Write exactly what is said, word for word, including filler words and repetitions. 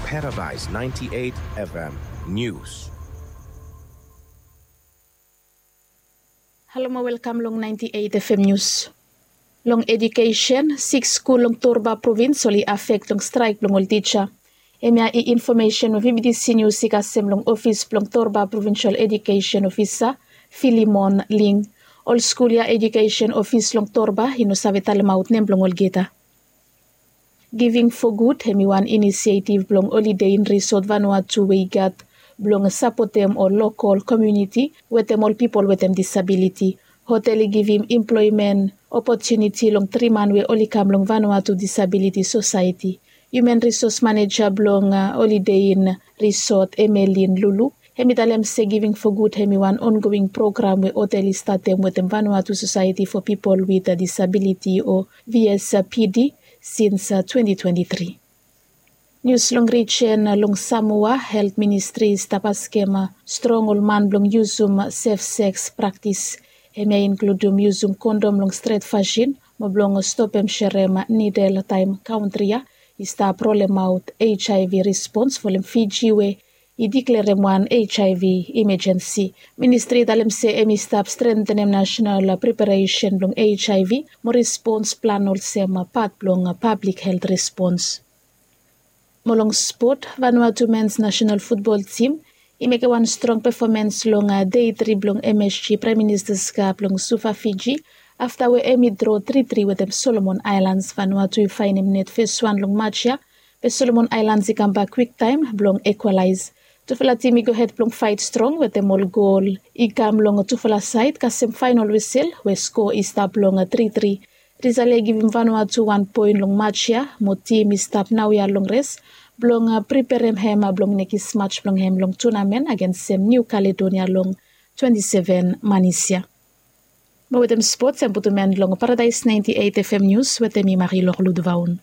Paradise ninety-eight F M News. Halo mo welkam long ninety-eight F M News. Long edukesen, siks skul long Torba provins oli afek long straek blong ol tija. Hemia i infomesen we B B C News i kasem long ofis blong Torba Provincial Education Officer, Philemon Ling. Ol skul ya edukesen ofis long Torba i no save talemaot nem blong olgeta. Giving for Good hem i wan inisietiv blong Holiday Inn Resort Vanuatu we i gat blong sapotem ol lokol komuniti wetem ol pipol wetem disabiliti. Hotel i givim emploemen opotuniti long tri man we oli kam long Vanuatu Disabiliti Sosaeti. Human Resource Maneja blong Holiday Inn Resort, Emelin Lulu, hem i talem se Giving for Good hem i wan ongoing program we hotel i statem wetem Vanuatu Sosaeti for Pipol wit Disabiliti o V S P D sins twenti twenti tri. Nius long rijen long Samoa, Helt Ministri i stap askem strong ol man blong yusum sef seks praktis. Hemia i inkludum yusum kondom long stret fasin mo blong stopem serem nidel taem kantri ya i stap rolemaot HIV respons folem Fiji we i diklerem wan HIV imejensi. Ministri i talem se hem i stap strentenem nasenal preparesen blong HIV mo respons plan olsem pat blong pablik helt respons. Mo long spot, Vanuatu mens nasenal futbol tim i mekem wan strong pefomens long dei tri blong MSG Praem Ministas Kap long Suva, Fiji, afta we hem i dro tri tri wetem Solomon Aelans. Vanuatu i faenem net feswan long maj ya, be Solomon Aelans i kambak kwiktaem blong ekwalaes. Tufala tim i gohed blong faet strong wetem ol gol i kam long tufala saed kasem faenol wisel we skoa i stap long tri tri. Risal ya i givim Vanuatu wan poen long maj ya mo tim i stap naoia long res blong preperem hem blong nekis maj blong hem long tunamen agensem Niu Kaledonia long twenti seven manis ya. Mo wetem spots hem putum en long Paradaes naenti eit FM Nius wetem mi Marilok Ludvaon.